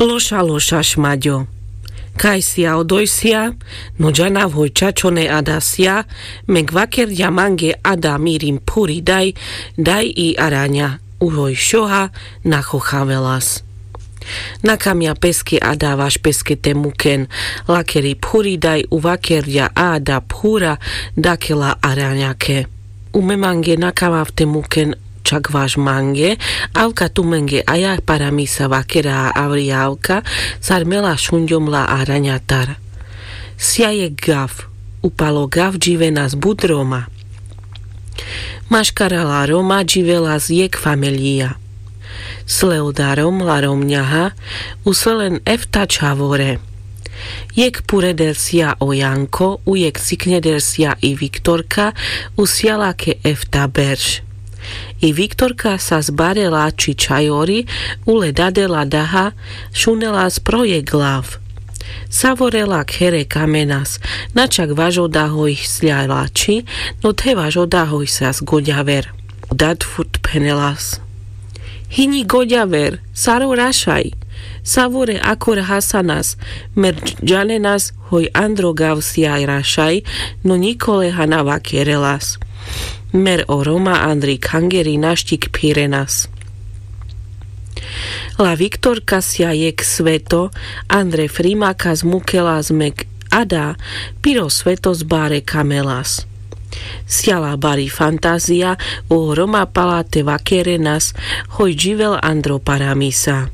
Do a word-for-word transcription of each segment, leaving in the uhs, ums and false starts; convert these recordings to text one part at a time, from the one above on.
Loša loša šmaďo. Kaj sia odojsia? No džanav hoj čačone ada sia. Mek vakerďa mange ada mirim phuri daj. Daj i araňa. Uhoj šoha. Nachochavelas. Nakamňa peske ada vaš peske te muken. Lakeri phuri daj uvakerďa ada phura. Dakela araňake. Ume mange nakamav te muken. Čak vaš mange. Avka tumenge aja paramisa vakera avri avka. Sar mela šunďom la araňatar. Sia jek gav. Upalo gav dživenas but roma. Maškara la roma dživelas jek fameljia. Sle oda rom la romňaha. Usle len efta čhavore. Jek pureder sia o janko u jek cikneder sia i viktorka. Usia lake efta berš. I viktorka sas bare lači čhajori. Ule dadela daha. Šunelas pro jek glav. Savore lak here kamenas. Na čak vaš oda hoj sľa lači. No the vaš oda hoj sas goďaver. Dad furt phenelas. Hinji goďaver. Sar o rašaj. Savore akor hasanas. Mer džanenas hoj andro gav sia rašaj. No ňiko leha na vakerelas. Mer o roma andri khangeri naščik phirenas. La viktorka sia jek sveto. Andre frimaka zmukelas mek ada. Piro svetos bare kamelas. Sia la bari fantazija. O roma pala te vakerenas. Hoj dživel andro paramisa.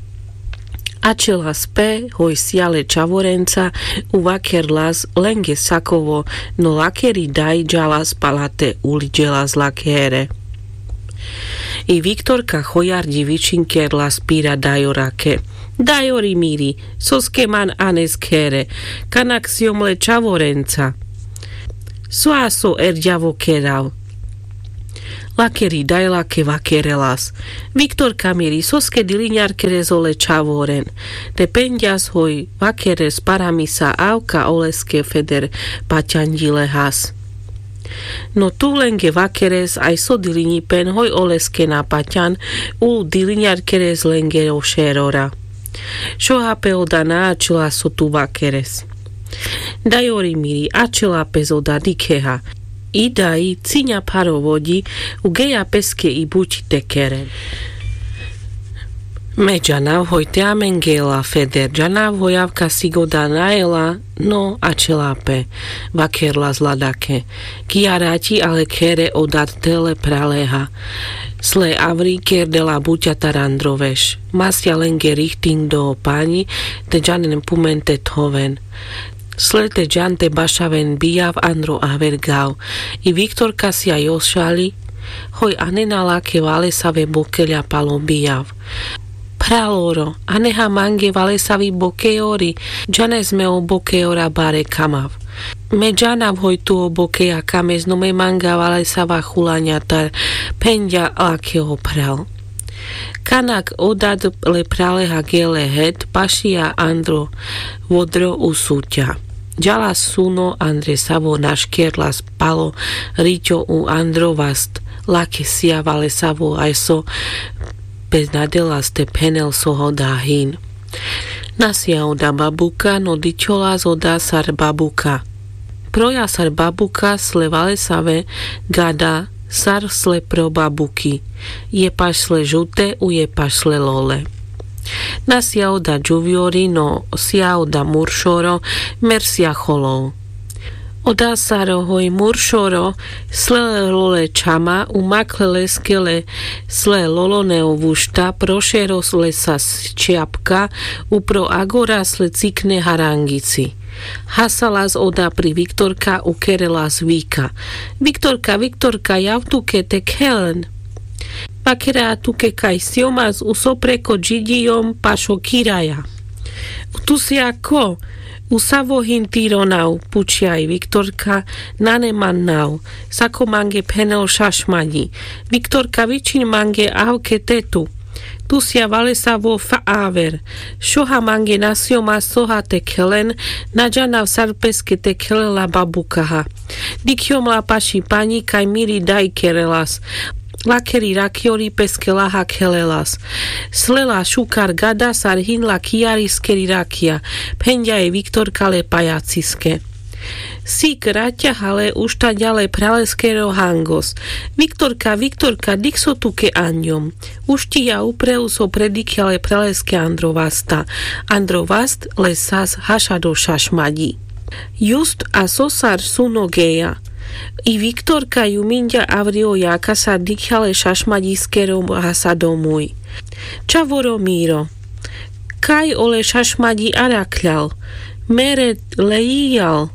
Ačelas pe hoj sia le čhavorenca. Uvakerlas lenge sakovo. No lakeri daj džalas pala te uliďelas lakere. I viktorka chojarďi vičinkerlas pira dajorake. Dajori miri, soske man anes khere? Kanak siom le čhavorenca. So a so erďavo kerav? Lakeri daj lake vakerelas. Viktorka miri, soske diliňar keres ole čhavoren? Te penďas hoj vakeres paramisa avka oleske feder paťanďi lehas. No tu lenge vakeres aj so diliňipen hoj oleske na paťan. U diliňar keres lenge o šerora. Šoha pe oda na ačela so tu vakeres? Dajori miri, ačela pes oda dikheha. I daj ciňa pharo voďi. Ugeja peske i buti te keren. Me džanav hoj te amenge ela feder džanav hoj avka sigoda na ela. No ačela pe. Vakerlas ladake. Ki arači ale khere o dad te le praleha. Sle avri kerdela buťatar andro veš. Masia lenge rihtiň do o paňi. Te džanen pumen te thoven. Sle te džan te bašaven bijav andro aver gav. I viktorka sia jošali. Hoj anena lake valesave bokeľa palo bijav. Phraloro, aneha mange valesavi bokejori. Džanes me o bokejora bare kamav. Me džanav hoj tu o bokeja kames no me manga valesava hulaňatar. Phenďa lake o phral. Kanak o dad le phraleha gele het pašija andro vodro u suťa. Džala suno andre savo naškerlas palo riťo u andro vast. Lake sia valesavo aj so. Pes nadelas te phenel so hoda hin. Nasia oda babuka no dičholas oda sar babuka. Proja sar babuka sle valesave gada sar sle pro babuki. Jepaš sle žute u jepaš sle lole. Nasia oda džuvjori no sia oda muršoro. Mer sia holov. Oda sar hoj muršoro sle le lole čhama u makhle leske le sle lolone o vušta prošero le sas čapka. Upro agora sle cikne harangici. Hasalas oda pri viktorka u kerelas vika. Viktorka viktorka jav tuke te khelen. Vakera tuke kaj siomas u so preko džiďijom pašo kiraja. Tu sia ko? U savo hin tiro nav pučja i viktorka. Nane man nav. Sako mange phenel šašmaďi. Viktorka vičin mange avke te tu. Tu sia valesavo fa aver. Šoha mange na siomas soha te khelen. Na džanav sar peske te khelela babukaha. Dikhjom la paši paňi kaj miri daj kerelas. lakeri rakjori peske laha kheľeľas. Slela šukar gada sar hin la kiariskeri rakja. Phenďa i viktorka le pajaciske. Sik raťaha le uštaďa le phraleskero hangos. Viktorka, viktorka, dikh so tuke anďom. Ušťiľa upreu so predikľa le phraleske andro vasta. Andro vast le sas haša do šašmaďi. Just a so sar suno geľa. I viktorka ju minďa avri o jaka sar dikľa le šašmaďiskero hasa do muj. Čavoro miro. Kaj ole šašmaďi arakhľal? Mere le jiľal.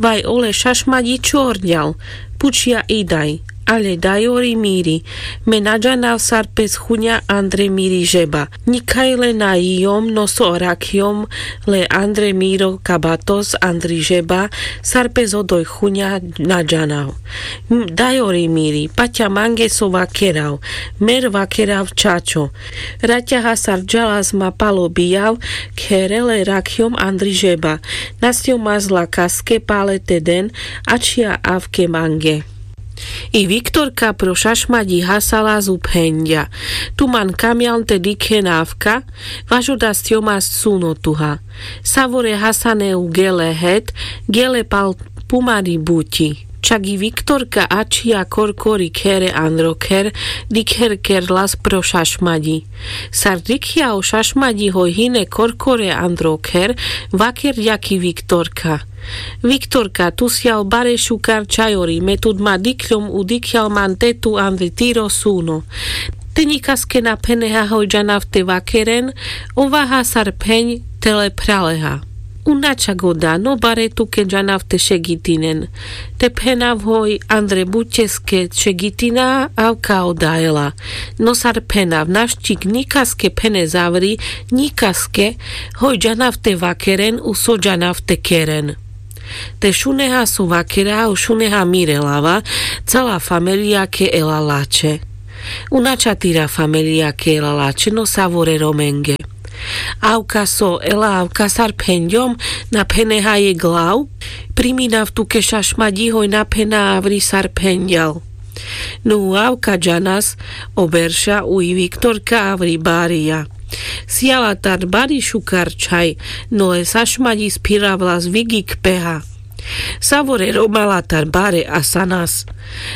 Vaj ole šašmaďi čorďal? Pučľa i daj. Ale dajori miri, me na džanav sar pes chuňa andre miri žeba. Nikaj le na jiľom no so arakhľom. Le andre miro kabatos andri žeba sar pes odoj chuňa na džanav. Dajori miri, paťa mange so vakerav. Mer vakerav čačo. Raťaha sar džalas ma palo bijav. Khere le rakľom andri žeba. Nasťomas la kaske pale te den. Ačia avke mange. I viktorka pro šašmaďi hasalas u phenďa. Tu man kamľan te dikhen avka. Vaš oda sťomas suno tuha. Savore hasane u geľe het. Geľe pal pumari buťi. Čak i viktorka ačia korkori khere andro kher. Dikher kerlas pro šašmaďi. Sar dikľa o šašmaďi hoj hine korkore andro kher. Vakerďa ki viktorka. Viktorka, tu sial bare šukar čajori, me tut ma dikľom u dikľal man te tu andri tiro suno. Te ňikaske na pheneha hoj džanav te vakeren. Ovaha sar phenďa te le phraleha. U na čak oda, no bare tuke džanav te šegitinen. Te phenav hoj andre buťeske šegitina. Avka oda ela. No sar phenav naščik ňikaske phene zavri. Ňikaske. Hoj džanav te vakeren u so džanav te keren. Te šuneha so vakera u šuneha mire lava. Cala familijake ela lačhe. U na čatira familijake ela lačhe no savore romenge. Avka so ela avka sar phenďom. Na pheneha jek lav. Priminav tuke šašmaďi hoj na phena avri sar phenďal. No u avka džanas o berša u i viktorka avri barija. Siala tar bari šukar čhaj. No le šašmaďi spiravlas vigik peha. Savore romala tar bare asanas.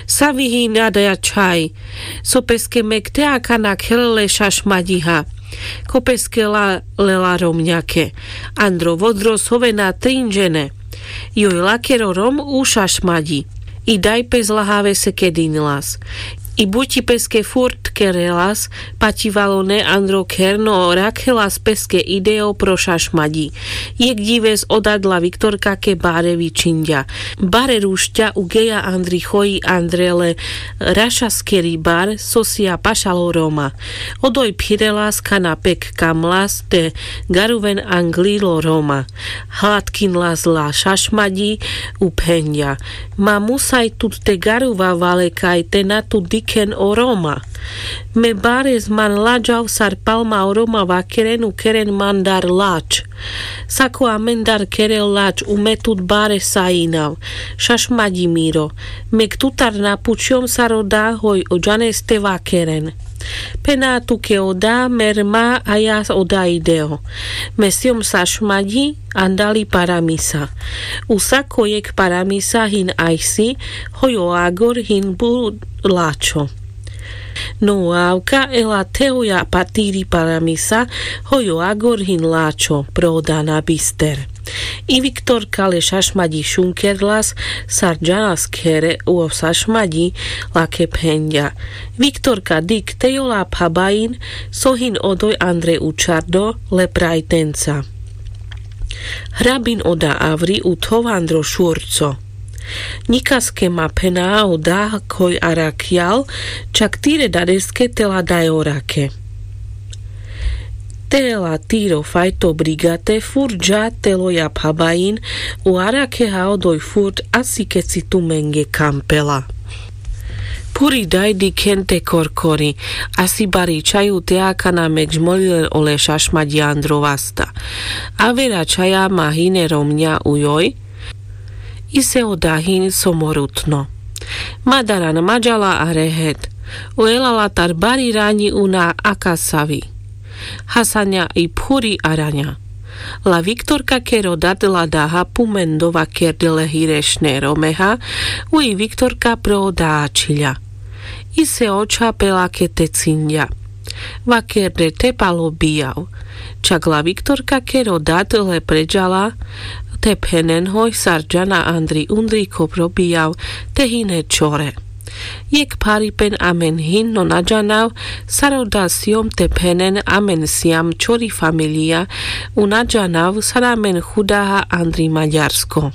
Savi hin adaja čhaj. So peske mek te akana kheľe le šašmaďiha. Ko peske la lela romňake. Andro vodro sovena trinžene. Joj lakero rom u šašmaďi. I daj pes lahavese kedinlas. I buťi peske furt kerelas. Paťivalone andro kher no rakhelas peske ideo pro šašmaďi. Jek ďives oda dla viktorkake bare vičinďa. Bare rušťa u geľa andri choj andre le rašaskeri bar so sia pašal o roma. Odoj phirelas kana pek kamlas te garuven anglil o roma. Hladkinlas la šašmaďi u phenďa. Ma musaj tut te garuva valekaj te na tut dikhen o roma. Me bares man laďav sar palma o roma vakeren u keren man dar lač. Sako amen dar kerel lač u me tut bare sajinav. Šašmaďi miro. Mek tutar na pučjom sar oda hoj o džanes te vakeren. Phena tuke oda mer ma aja oda ideo. Me sjom šašmaďi andali paramisa. U sako jek paramisa hin ajsi hoj o agor hin bu lačho. No u avka ela theoja patiri paramisa hoj o agor hin lačho pro oda na bister. I viktorka le šašmaďi šunkerlas sar džanas khere u o šašmaďi. Lake phenďa. Viktorka, dikh te jola phabain so hin odoj andre učardo le prajtenca. Hrabin oda avri u thov andro šurco. Ňikaske ma phena oda khoj arakhjal. Čak tire dadeske tela daj orake. Tela tiro fajto brigate furt dža teloja phabain. U arakheha odoj furt asi keci tumenge kampela. Phuri daj dikhen te korkori. Asi bari čhaj u te akana mek žmolile ole šašmaďi andro vasta. Avera čhaja ma hine romňa u joj. Ise oda hin so morutno. Ma daran ma džala arehet. O elalatar bari raňi u na akasavi. Hasaňa i phuri araňa. La viktorka kero dat la daha pumen do vakerde le hirešne romeha. U i viktorka pro daha čhilja. I se očha pe lake te cinďa. Vakerde te palo bijav. Čak la viktorka kero dat le predžala te phenen hoj sar džana andri undri ko pro bijav te hine čore. Jekh pharipen amen hin no na džanav sar oda sjom te phenen amen sjam čori familija. U na džanav sar amen chudaha andri maďarsko.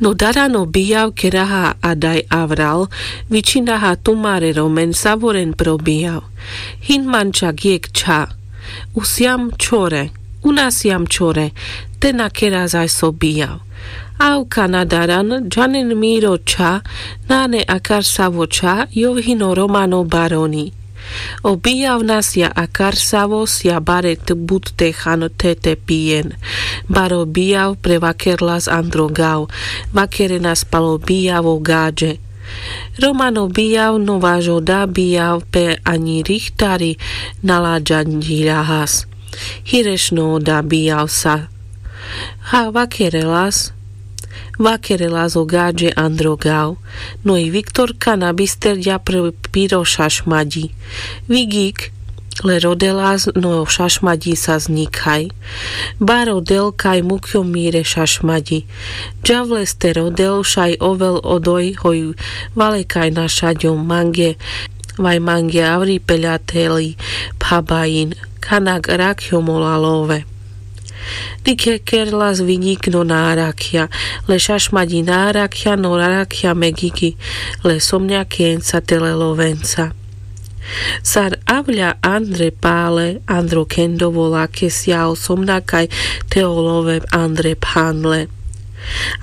No darano bijav keraha adaj avral vičinaha tumare romen savoren pro bijav. Hin man čak jekh čha. U sjam čore. U na sjam čore. Te na kera zaj so bijav. Avka na daran džanen miro čha. Nane akar savo čha jov hino romano baroni. O bijav na sja akar savo sja bare but te han te te pijen. Baro bijav prevakerlas andro gav. Vakerenas palo bijav o gaďe. Romano bijav no važo da bijav pe aňi rihtari na laďaňiľahas. Hirešno oda bijav sa. Ha vakerelas. Vakerelas o gaďe andro gav. No i viktorka na bisterďa piro šašmaďi. Vigjik le rodelas no šašmaďi sa zňikhaj. Ba rodel kaj mukjo mire šašmaďi. Džavle ste rodel šaj ovel odoj hoj valekaj na šaďom mange. Vaj mange avri peľateli phabajin kanak rakjom ola love. Dikhe kerlas viňik no na arakhľa. Le šašmaďi na arakhľa no arakhľa megiki. Le somňa keňca te le lovenca. Sar avľa andre pale andro kendovo lake sja o somňa kaj te o love andre phanle.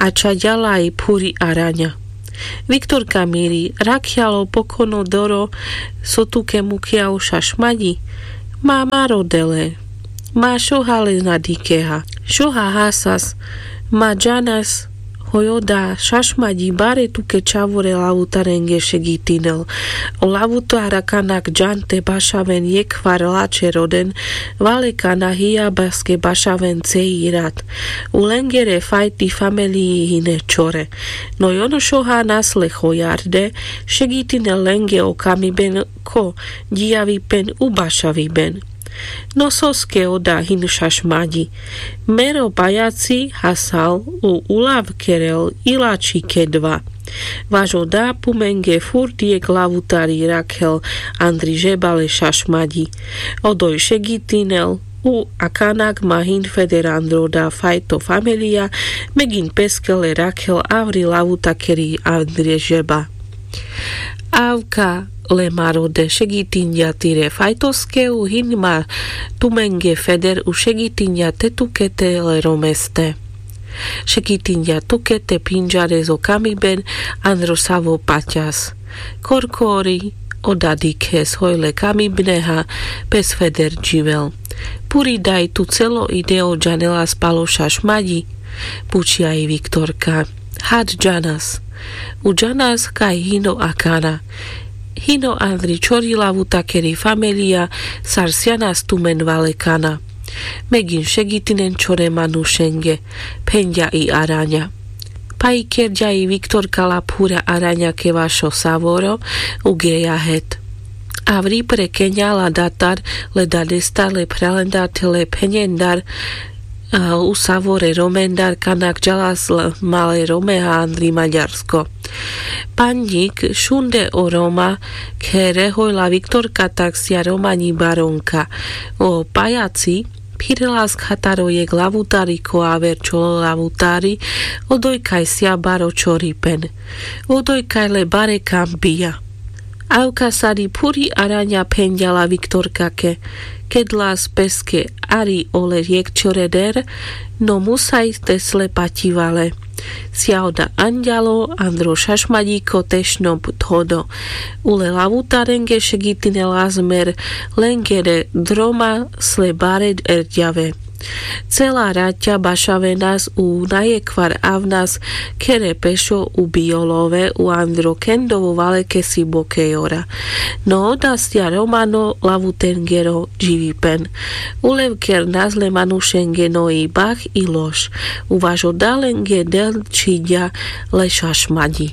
A čaďala i phuri araňa. Viktorka miri rakľalo pokono doro. So tuke mukľa o šašmaďi. Ma ma rodele. Ma šoha le na dikeha. Šoha hasas. Ma džanas hoj oda šašmaďi bare tuke čavore lavutarenge šegitinel. O lavutara kanak džan te bašaven jekhvar lačhe roden. Valekana hijabaske bašaven cei rat. U lengere fajti familiji hine čore. No i ono šoha nas le hojarde šegitinel lenge o kamiben ko džijaviben u bašaviben. No soske oda hin šašmaďi. Mero pajaci hasal u ulav kerel i lačhi kedva. Vaš oda pumenge furt jekh lavutari rakhel andri žeba le šašmaďi. Odoj šegitinel u a kanak ma hin feder andro da fajto familija. Megin peske le rakhel avri lavutakeri andri žeba. Avka le ma rode šegitinďa tire fajtoske u hin ma tumenge feder u šegitinďa te tuke te le romeste. Šegitinďa tuke te pindžare zo kamiben andro savo paťas. Korkori oda dikhes hoj le kamibneha pes feder dživel. Puri daj tu celo ideo džanelas palo šašmaďi? Pučia i viktorka. Had džanas. U džanas kaj hino akana. Hino andri čori lavutakeri familija sar sjanas tumen valekana. Megin šegitinen čore manušenge. Phenďa i araňa. Paj kerďa i viktorka la phura araňa ke vašo savoro. Ugeja het. Avri pre keňa la datar le dadestar le phralendar te le phenjendar u savore romendar kanak džalas male romeha andri maďarsko. Panďik šunde o roma khere hoj la viktorka tak sja romaňi baronka. O pajaci phirelas khataro jekh lavutari ko aver čolo lavutari. Odoj kaj sja baro čoripen. Odoj kaj le bare kam bija. Avka sari phuri araňa phenďa la viktorkake. Kedlas peske ari ole jekh čoreder no musaj te sle paťivale. Sja oda anďalo andro šašmaďiko tešno thodo. Ule lavutarenge šegitinela zmer lengere droma sle bare erďave. Cela raťa bašavenas u najekvar avnas khere pešo u biolove u andro kendovo valekesi bokejora. No oda stia romano lavutengero dživipen. Ulev kernas le manušenge no i bah i loš. Uvaš oda lenge del čhiďa le šašmaďi.